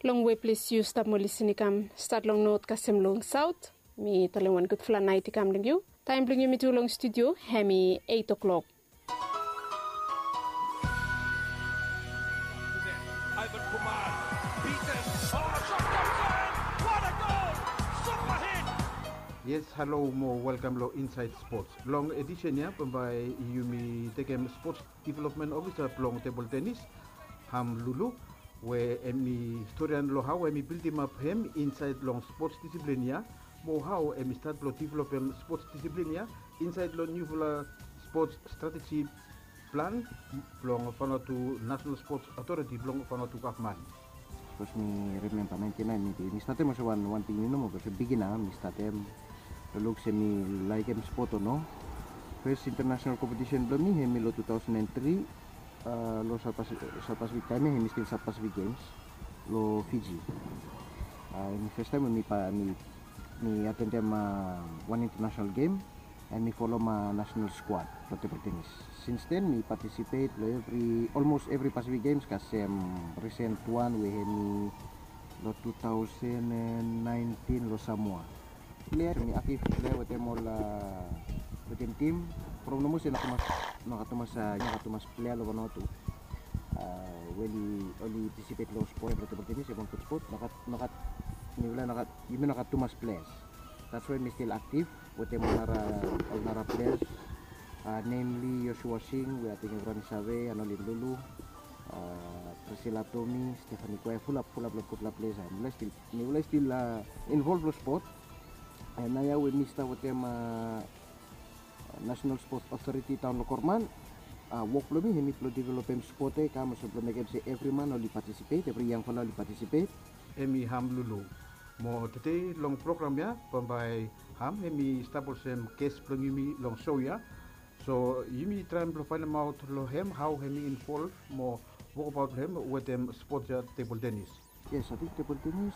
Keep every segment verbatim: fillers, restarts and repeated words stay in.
Long we ples yu stap mo lisin i kam, stat long not kasem long saut, mi talem wan gudfala nait i kam long yu. Taem blong yumi tu long studio hemi eit o'klok. Ivan Kumar, beaten. Oh, shot comes in! What a goal! Super hit! Yes, halo mo welkam long Inside Sports. Long edisen ya bambae yumi tekem sports development officer blong tebol tenis, Ham Lulu, we hemi storian long hao hemi bildimap hem insaed long sports disiplin ya, mo hao hemi stat blong developem sports disiplin ya insaed long niufala sports strateji plan blong Vanuatu National Sports Authority blong Vanuatu gavman. Sapos mi rimemba naentin naen, mi statem olsem wan, wan pikinini nomo, olsem bigina mi statem. Long luk se mi laekem spot o no. Fes intanasenal kompetisen blong mi hemi long tu taosen and tri, long South Pacific, South Pacific taem ya hemi stil South Pacific Games long Fiji. Hemi fes taem we mi, mi atendem wan intanasenal gem, and mi folem nasenal skuad blong tebol tenis. Sins den mi patisipet long evri, olmos evri Pacific Games kasem risen wan we hemi long tu taosen and naentin long Samoa. Plea, mi aktif plea wetem ol, wetem tim. Problem nomo se no gat tumas, no gat tumas, no gat tumas plea long Vanuatu we oli, oli patisipet long spot blong tebol tenis, hemi wan gud spot. No gat, no gat, mifala no gat, yumi no gat tumas pleas. That's why mi stil aktif wetem ol nara, ol nara pleas, namely Joshua Singh, we ating evriwan i save, Anolin Lulu, Priscilla Tommy, Stephanie Kwai, fulap, fulap long gudfala pleas. Mifala stil, mifala stil involv long spot. And naoia we mi stap wetem National Sports Authority taon long Korman, wok blong mi hemi blong developem spot ya i kam olsem blong mekem se evri man oli patisipet, evri yangfala oli patisipet. Hemi Ham Lulu. Mo tede long program ya bambae Ham hemi stap olsem ges blong yumi long so ya. So yumi traem blong faenemaot long hem hao hemi involv mo wokbaot blong hem wetem spot ya, tebol tenis. Yes, ating tebol tenis,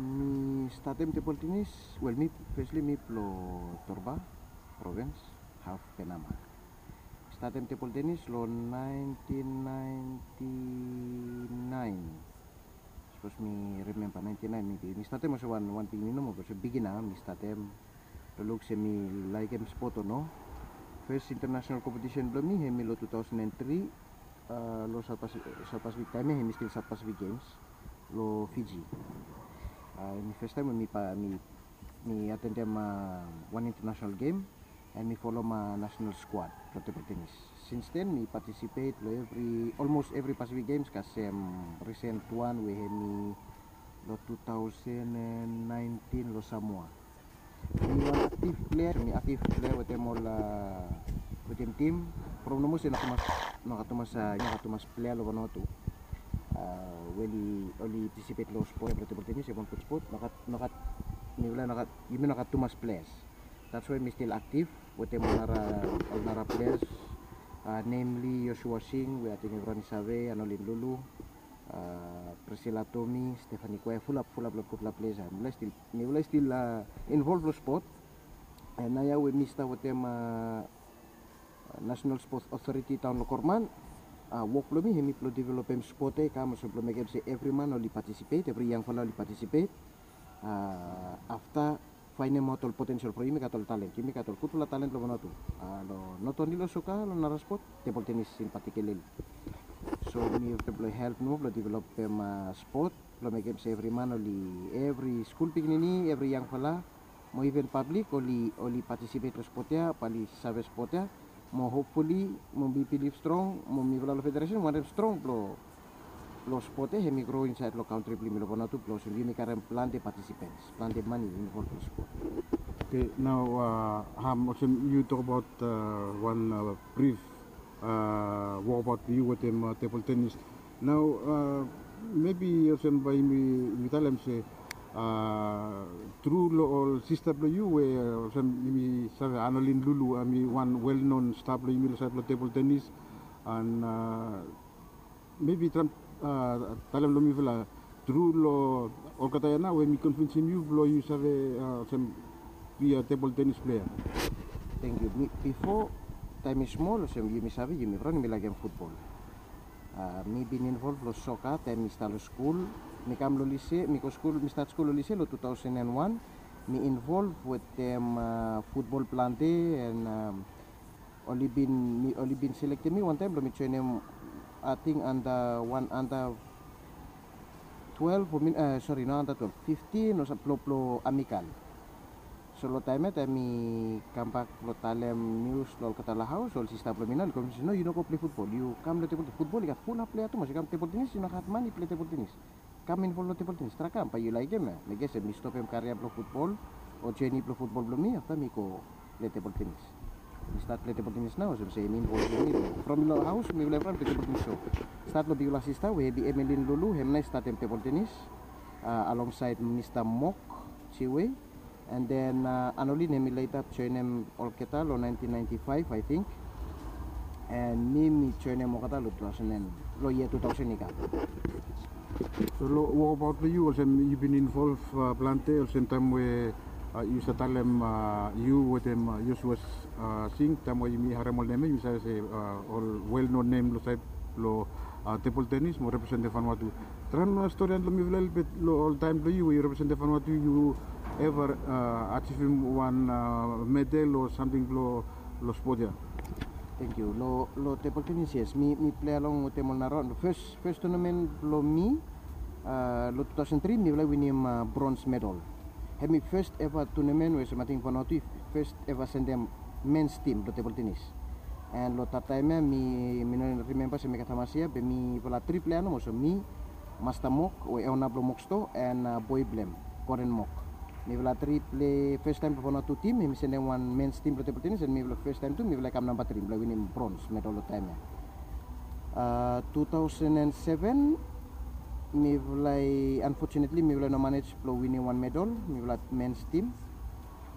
mi statem tebol tenis, wel, mi, fesli mi blong Torba provins, haf Penama. Statem tebol tenis long naentin naenti naen. Sapos mi rimemba naentin naen, mi, mi statem olsem wan, wan pikinini nomo, olsem bigina mi statem. Long luk se mi laekem spot o no. Fes intanasenal kompetisen blong mi hemi long tu taosen and tri, long South Pacific, South Pacific taem ya hemi stil South Pacific Games long Fiji. Hemi fes taem we mi, mi, mi atendem wan intanasenal gem, and mi folem nasenal skuad blong tebol tenis. Sins den mi patisipet long evri, olmos evri Pacific Games kasem risen wan we hemi long tu taosen and naentin long Samoa. Mi wan aktif plea, mi aktif plea wetem ol, wetem tim. Problem nomo se no gat tumas, no gat tumas, no gat tumas plea long Vanuatu we oli, oli patisipet long spot blong tebol tenis, hemi wan gud spot. No gat, no gat, mifala no gat, yumi no gat tumas pleas. That's why mi stil aktif wetem ol nara, ol nara pleas, namely Joshua Singh, we ating evriwan i save, Anolin Lulu, Priscilla Tommy, Stephanie Kwai, fulap, fulap long gudfala pleas. Mifala stil, mifala stil involv long spot. And naoia we mi stap wetem National Sports Authority taon long Korman, wok blong mi hemi blong developem spot ya i kam olsem blong mekem se evri man oli patisipet, evri yangfala oli patisipet. Afta faenemaot ol potensel from yumi gat ol talent, yumi gat ol gudfala talent long Vanuatu. Long, not only long soka, long nara spot, tebol tenis in particularly. So mi blong help nomo blong developem spot blong mekem se evri man oli, evri skul pikinini, evri yangfala, mo iven pablik oli, oli patisipet long spot ya, bae oli save spot ya. Mo hopfuli, mo mi bilif strong, mo mifala long federesen wantem strong blong, blong spot ya hemi gro insaed long kantri blong yumi long Vanuatu, blong olsem yumi karem plante patisipens, plante mane involv long spot. Okay, nao, Ham, olsem yu tokbaot wan brif wokbaot blong yu wetem tebol tenis. Nao, mebi olsem bae yumi, yumi talem se tru long ol sista blong yu we, olsem yumi save, Anolin Lulu, hemi wan wel non sta blong yumi long saed blong tebol tenis. And mebi traem talem long mifala, tru long olgeta ya nao we mi konvinsim yu blong yu save olsem be a tebol tenis plea. Tangkiu. Mi, bifo, taem mi smol, olsem yumi save, yumi evriwan yumi laekem futbol. Mi bin involv long soka taem mi stap long skul. Mi kam long lise, mi go skul, mi stat skul long lise long two thousand and one. Mi involv wetem futbol plante, and oli bin, oli bin selektem mi wantaem blong mi joenem, ating, anda wan, anda twelve o, sori, no anda twelve, fiftin o sam, blong, blong Amical. So long taem ya, taem mi kambak blong talem nius long olgeta long haos, ol sista blong mi nao oli kom se, "No, yu no go pilei futbol, yu kam long tebol tenis. Futbol i gat fulap plea tumas. Yu kam tebol tenis, yu no gat mane pilei tebol tenis. Kam involv long tebol tenis, traem kam, bae yu laekem ya." Mi ges se mi stopem karia blong futbol o jeni blong futbol blong mi, afta mi go pilei tebol tenis. Mi stat pilei tebol tenis nao olsem se mi involv blong mi long, from long haos mifala i pilei tebol tenis. So stat long bigfala sista we hem i Emelin Lulu, hem nao i statem tebol tenis alongsaed Mista Mok Jiwe. And then Anolin hem i leta joenem olgeta long nineteen ninety-five, I think. And mi, mi joenem olgeta long two thousand, long yia two thousand i kam. So long wokabaot blong yu, olsem yu bin involv plante, olsem taem we yu save talem yu wetem Joshua Singh, taem we yumi harem ol nem ya yumi save se ol well known nem long saed long tebol tenis mo representem Vanuatu. Traem storian long mifala lelebet long ol taem blong yu we yu representem Vanuatu, yu eva ajivim wan medal o samting long spot ya? Tangkiu. Long tebol tenis, yes, mi pilei along wetem ol nara, long fes, fes tunamen blong mi long two thousand three mifala i winim bronze medal. Hem i fes eva tunamen we olsem ating Vanuatu i fes eva sendem mens tim blong tebol tenis. And long dat taem ya mi, mi no rimemba se mi gat hamas yia, be mifala tri plea nomo, so mi, Masta Mok we ona blong Mok Sto, and boe blong hem, Koren Mok. Mifala tri pilei fes taem blong Vanuatu tim, hem i sendem wan mens tim blong tebol tenis, and mifala fes taem tu mifala i kam namba tri blong winim bronze medal long taem ya. Two thousand and seven mifala i, unfortunately mifala i no manej blong winim wan medal, mifala mens tim.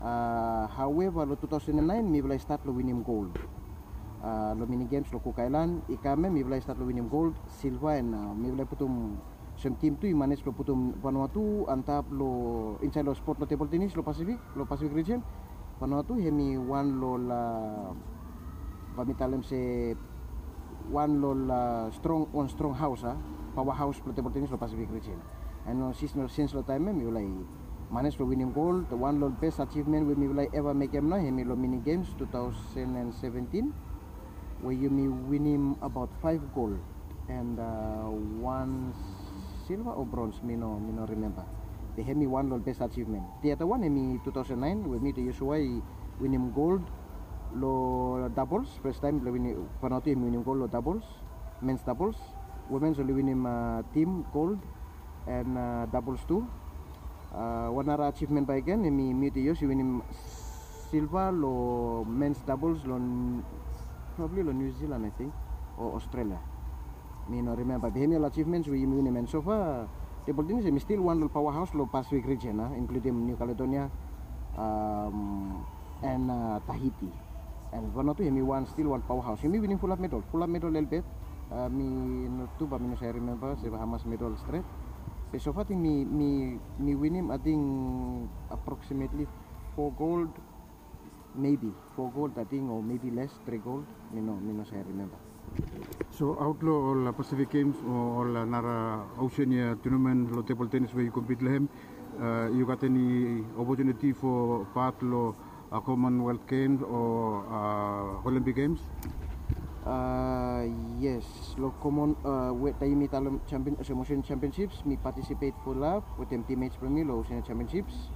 However long two thousand and nine mifala i stat long winim gold long mini games long Cook Island. I kam ya mifala i stat long winim gold, silva, and mifala i putum, olsem tim tu i manej blong putum Vanuatu antap long, insaed long spot long tebol tenis long Pasifik, long Pasifik rijen. Vanuatu hem i wan long ol, bae mi talem se wan long ol strong, wan strong haos, a, paoa haos blong tebol tenis long Pasifik rijen. And sins, sins long taem ya mifala i manej blong winim gold. Wan long ol bes ajivmen we mifala i eva mekem nao hem i long mini games two thousand and seventeen, we yumi winim abaot faef gold and wan silva o bronze, mi no, mi no rimemba. Be hem i wan long ol bes ajivmen. The other one hem i two thousand nine we mi wetem Joshua i winim gold long doubles, fes taem blong winim, Vanuatu hem i winim gold long doubles, mens doubles. Womens oli winim tim gold and doubles tu. Wan nara ajivmen bakegen hem i, mi wetem Josh i winim silva long mens doubles long, probably long New Zealand, I think, o Australia. Mi no rimemba, be hem ya ol ajivmens we yumi winim. And so far tebol tenis hem i stil wan long ol paoa haos long Pasifik rijen, a, inkludim New Caledonia and Tahiti. And Vanuatu hem i wan, stil wan paoa haos. Yumi winim fulap medal, fulap medal lelebet. Mi no tu, bae mi no save rimemba se hamas medal stret. Be so far ating mi, mi, mi winim ating approximately fo gold, maybe fo gold ating, o maybe les, tri gold. Mi no, mi no save rimemba. So aot long ol Pacific Games o ol nara Oceania tournament long tebol tenis we yu kompit long hem, yu gat eni opotuniti fo pat long Commonwealth Games o Olympic Games? Yes, long Common, we taem yumi talem champion, olsem Oceania Championships, mi patisipet fulap wetem teammates blong mi long Oceania Championships.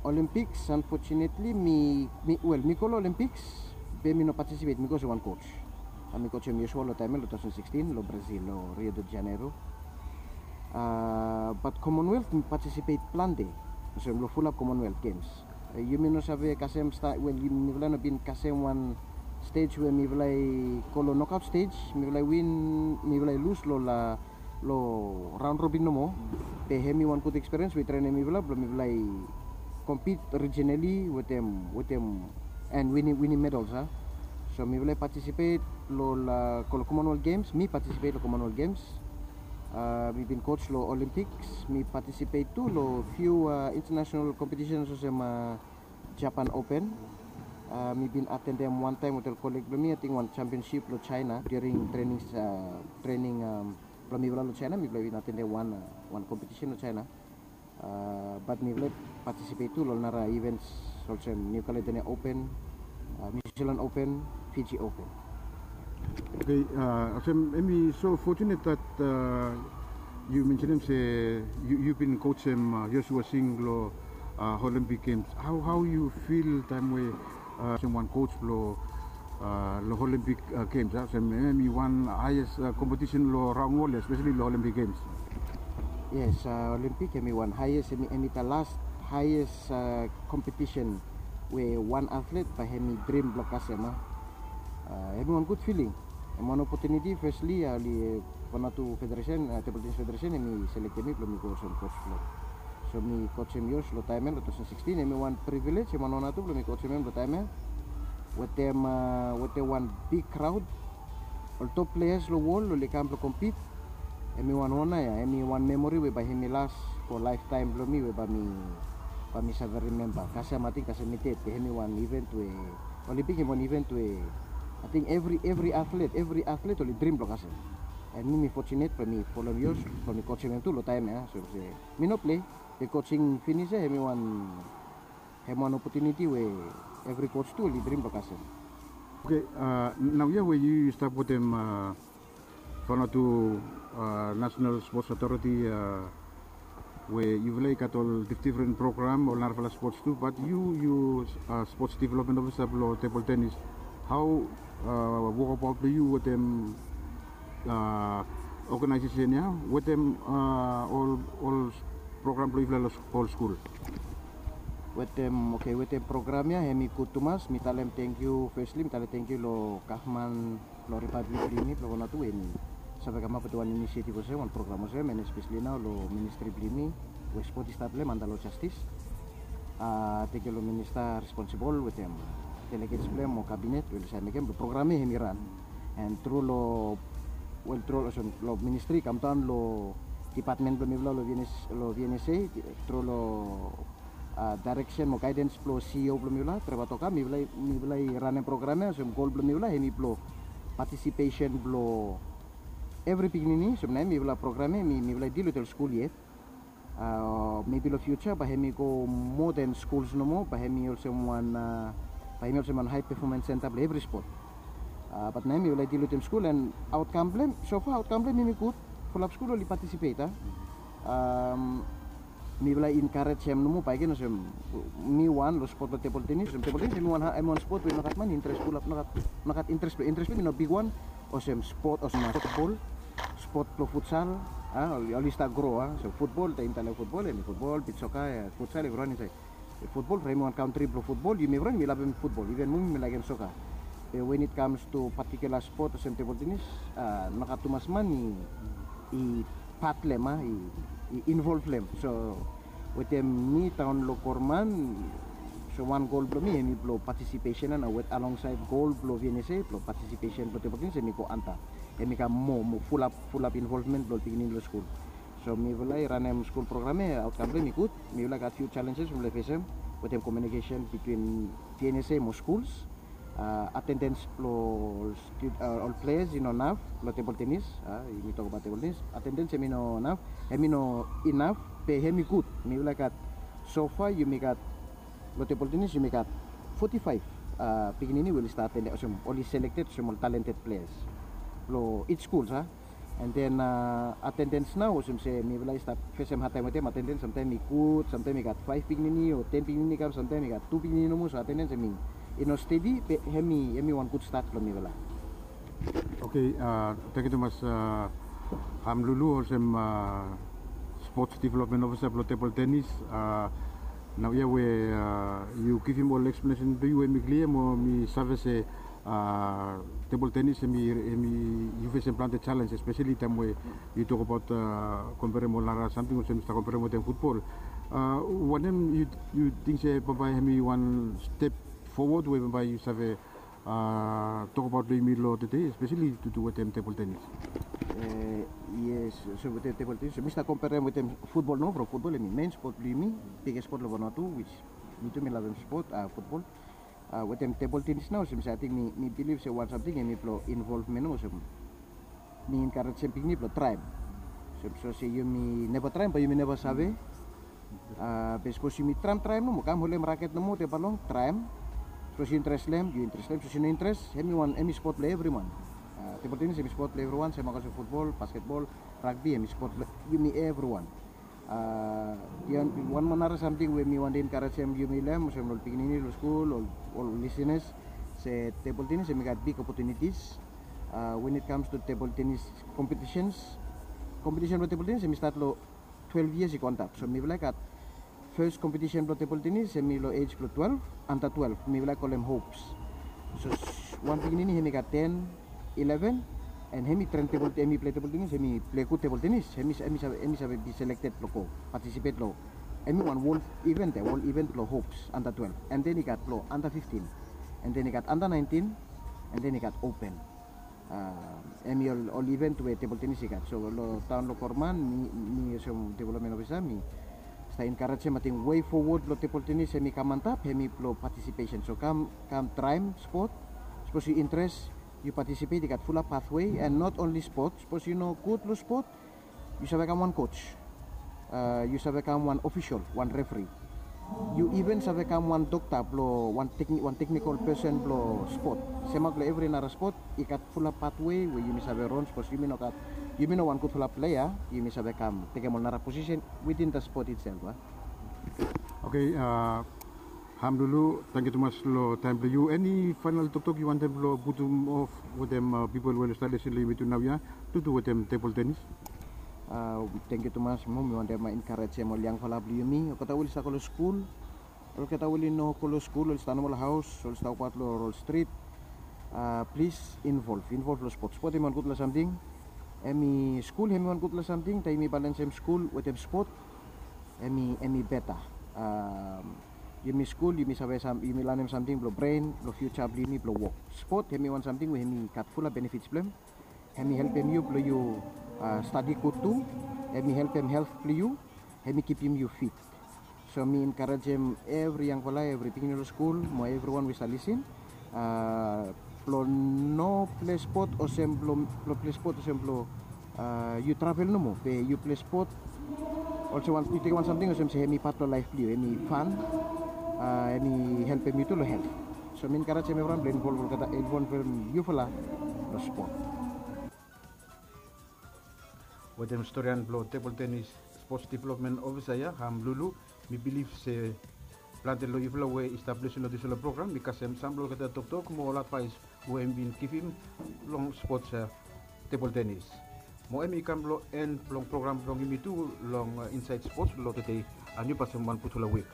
Olympics, unfortunately mi, mi, wel, mi go long Olympics be mi no patisipet, mi go olsem wan coach. Mi coachem Joshua long taem ya long two thousand sixteen long Brazil, long Rio de Janeiro. Bat Commonwealth mi patisipet plante, olsem long fulap Commonwealth Games. Yumi no save kasem sta, wel, mifala no bin kasem wan stej we mifala i go long knockout stej, mifala i win, mifala i lus long la, long round robin nomo. Be hem i wan gud ekspiriens we i trenem mifala blong mifala i kompit rijinali wetem, wetem, and winim, winim medals, a. So mifala i patisipet long, go long Commonwealth Games, mi patisipet long Commonwealth Games. Mi bin coach long Olympics, mi patisipet tu long few international competitions olsem Japan Open. Uh, mi bin atendem wan taem wetem koleg blong mi, ating wan championship long China during training, uh, training um, blong mifala long China. Mifala bin atendem wan, uh, wan competition long China. Uh, bat mifala participate tu long nara events olsem New Caledonia Open, uh, New Zealand Open, Fiji Open. Okay, uh, olsem hemi so fortunate that uh, yu mensenem se yu, yu bin coachem uh, Joshua Singh lo uh, Olympic Games. How, how yu feel taem we uh, olsem wan coach lo uh, lo Olympic uh, Games, uh, olsem hemi wan highest uh, competition lo raon wol, especially lo Olympic Games? Yes, uh, Olympic hemi wan highest, hemi, hemi the last highest uh, competition we wan athlete bae hemi dream blong kasem, uh, hemi wan good feeling. Hemi wan opportunity, firstly, uh, oli Vanuatu Federation, uh, Table Tennis Federation, hemi selektem mi blong mi go olsem coach blong. So mi coachem Josh long taem ia, long two thousand sixteen, hemi wan privilege, hemi wan honor tu blong mi coachem hem long taem ia. Wetem, uh, wetem wan big crowd, ol top players long wol oli kam blong compete. Hemi wan honor ia, hemi wan memory we bae hemi last for lifetime blong mi, we bae mi, bae mi save remember. Kasem, ating kasem mi ded, be hemi wan event we, Olympic hemi wan event we ating every, every athlete, every athlete oli dream blong kasem. And mi, mi fortunate blong mi folem Josh, blong mi coachem hem tu long taem ia. So se mi no play, be coaching finis ia, hemi wan, hemi wan opportunity we every coach tu oli dream blong kasem. Okay, uh, naoia we yu, yu stap wetem uh, Vanuatu uh, National Sports Authority, uh, we yufala i gat ol dif-, different program, ol narafala sports tu, bat yu, yu uh, sports development officer blong table tennis. How uh, wokabaot blong yu wetem uh, organization ia, wetem uh, ol, ol program blong yufala lo ol skul? Wetem, okay, wetem program ia, hemi gud tumas. Mi talem tangkiu, firstly mi talem tangkiu lo gavman lo Republic blong yumi, blong Vanuatu, we hemi save kamap wetem wan initiative olsem, wan program olsem, and especially nao lo ministry blong yumi we spot i stap long hem, anda lo justice. Uh, tangkiu lo minister responsible wetem delegates blong hem mo cabinet we oli save mekem blong program ia hemi ran. And tru lo, well, tru lo, olsem, lo ministry i kamdaon lo department blong mifala lo V N S, lo V N S A, tru lo uh, direction mo guidance blong C E O blong mifala, Trevor Toka, mifala, mifala i ranem program ia, olsem goal blong mifala hemi blong participation blong every pikinini. Olsem naoia mifala program ia, mi, mifala i deal wetem skul yet. Uh, maybe lo future bae hemi go more than schools nomo, bae hemi olsem wan, uh, bae hemi olsem wan high performance center blong every sport. Uh, bat naoia mifala i deal wetem skul, and outcome blong hem, so far outcome blong hem hemi gud. Fulap skul oli participate, a. Um, mifala i encourage hem nomo bakegen olsem mi wan lo spot lo table tennis. Olsem table tennis hemi wan, hemi wan spot we nogat man i interes fulap, nogat, nogat interes blong, interes blong hem i no bigwan olsem spot, olsem football, spot blo futsal, a, oli, oli stap gro, a. So football, taem yumi talem football, hemi football, beach soccer, a, futsal, evriwan insaed. Football, from hemi wan kantri blo football, yumi evriwan yumi lavem football, even mi, mi laekem soccer. Be when it comes to particular spot olsem table tennis, a, nogat tumas man i, i part lo hem, a, i, i involve lo hem. So wetem mi daon lo korman, so wan goal blo mi hemi blo participation, a, nao wet alongside goal blo V N S A, blo participation blo table tennis hemi go anda. Hemi kam moa, moa fulap, fulap involvement blo ol pikinini lo skul. So mifala i ranem skul program ia, outcome blo hem i gud. Mifala i gat few challenges mifala i fesem wetem communication between V N S A mo schools. A, attendance blo ol stu-, a, ol players i no naf lo table tennis. A, yumi tokbaot table tennis. Attendance hemi no naf, hemi no inaf, be hemi gud. Mifala i gat, so far yumi gat, lo table tennis yumi gat forty-five, a, pikinini we oli stap attend, olsem oli selected olsem ol talented players lo each schools, a. And then, a, attendance nao, olsem se mifala i stap fesem hard time wetem attendance, samtaem i gud, samtaem i gat faef pikinini o ten pikinini i kam, samtaem i gat tu pikinini nomo, so attendance hemi, i no stedi, be hemi, hemi wan gud start blo mifala. Okay, a, tangkiu tumas, a, Hamlulu, olsem, a, sports development officer blo table tennis, a, naoia we, a, yu givim ol explanation blo yu hemi klia mo mi save se, a, table tennis hemi, hemi, yu fesem plante challenge, especially taem we yu tokbaot, a, komperem ol nara samting olsem yu stap komperem wetem futbol. A, wanem yu, yu ting se bambae hemi wan step forward we bambae yu save, a, tokbaot lo yumi lo tede, especially tu, tu wetem table tennis? E, yes, so wetem table tennis, so mi stap komperem wetem futbol nomo, from futbol hemi main spot blo yumi, biggest spot lo Vanuatu, which mi tu mi lavem spot, a, futbol. Wetem tebol tenis nao olsem se ating mi bilif se wan samting hemi blong involvmen olsem mi enkarejem pikinini blong traem. Olsem so se yumi neva traem bae yumi neva save. Be sapos yumi traem traem nomo kam holem raket nomo te balong traem. Sapos yu interes long hem yu interes long hem, sapos yu no interes, hemi wan hemi spot blong evriwan. Tebol tenis hemi spot blong evriwan, sem olsem futbol, basketbol, ragbi, hemi spot blong yumi evriwan. Wan moa nara samting we mi wantem enkarejem yumi long hem olsem long ol pikinini long skul, ol lisinas, se tebol tenis hemi gat big opotunitis. Wen it kams tu tebol tenis kompetisens, kompetisen blong tebol tenis hemi stat long twelve yias i go antap. So mifala i gat fes kompetisen blong tebol tenis hemi long ej blong twelve, anta twelve mifala i kolem hops. So wan pikinini hemi gat ten, eleven, and hemi tren tebol hemi pilai tebol tenis, hemi pilai gud tebol tenis, hemi save hemi save bi selekted blong go patisipet long hemi wan wol iven ya, wol iven blong hops anta twelve, and then i gat blong anta fiftin, and then i gat anta naentin, and then i gat open. Hemi ol iven we tebol tenis i gat. So long taon long Korman, mi olsem development ofisa mi stap enkarejem ating wei fowod blong tebol tenis hemi kam antap hemi blong patisipesen. So kam kam traem spot. Sapos yu interes, yu patisipet, i gat fulap pathwei, and not only spot. Sapos yu no gud long spot, yu save kam wan koj, yu save kam wan ofisol, wan refri. Yu iven save kam wan dokta blong wan teknikol pesen blong spot. Semaot long evri nara spot i gat fulap pathwei we yumi save ron. Sapos yumi no gat, yumi no wan gudfala plea, yumi save kam tekem ol nara posisen witin da spot itsel. Oke. Hamlulu, tangkiu tumas long taem blong yu. Eni faenal toktok yu wantem blong putum of wetem pipol we oli stap lisin long yumi tu naoia, tutu wetem tebol tenis? Tangkiu tumas. Mo mi wantem enkarejem ol yangfala blong yumi, olgeta we oli stap go long skul, olgeta we oli no go long skul, oli stap nomo long haos, oli stap wokbaot long ol strit. Plis involv involv long spot. Spot hemi wan gudfala samting. Hemi skul hemi wan gudfala samting, taem yumi balensem skul wetem spot, hemi hemi beta. Yumi skul yumi save sam yumi lanem samting blong bren blong fiuja blong yumi blong wok. Spot hemi wan samting we hemi gat fulap benefits blong hem. Hemi helpem yu blong yu stadi gud tu. Hemi helpem helt blong yu. Hemi kipim yu fit. So mi enkarejem evri yangfala, evri pikinini long skul mo evriwan we i stap lisin blong no pilai spot olsem blong pilai spot olsem blong yu travel nomo, be yu pilai spot olsem wan yu tekem wan samting olsem se hemi pat blong laef blong yu, hemi fan, hemi helpem yu tu long helt. So mi enkarejem evriwan blong involv olgeta, involvem yufala long spot. Wetem storian blong tebol tenis spots developmen ofisa ya, Hamlulu, mi bilif se plante long yufala we i stap lisin long dispela program i kasem sam blong olgeta toktok mo ol advaes we hem bin givim long spots tebol tenis. Mo hem i kam long en blong program blong yumi tu long Insaed Spots blong tede. Niu pasem wan gudfala wik.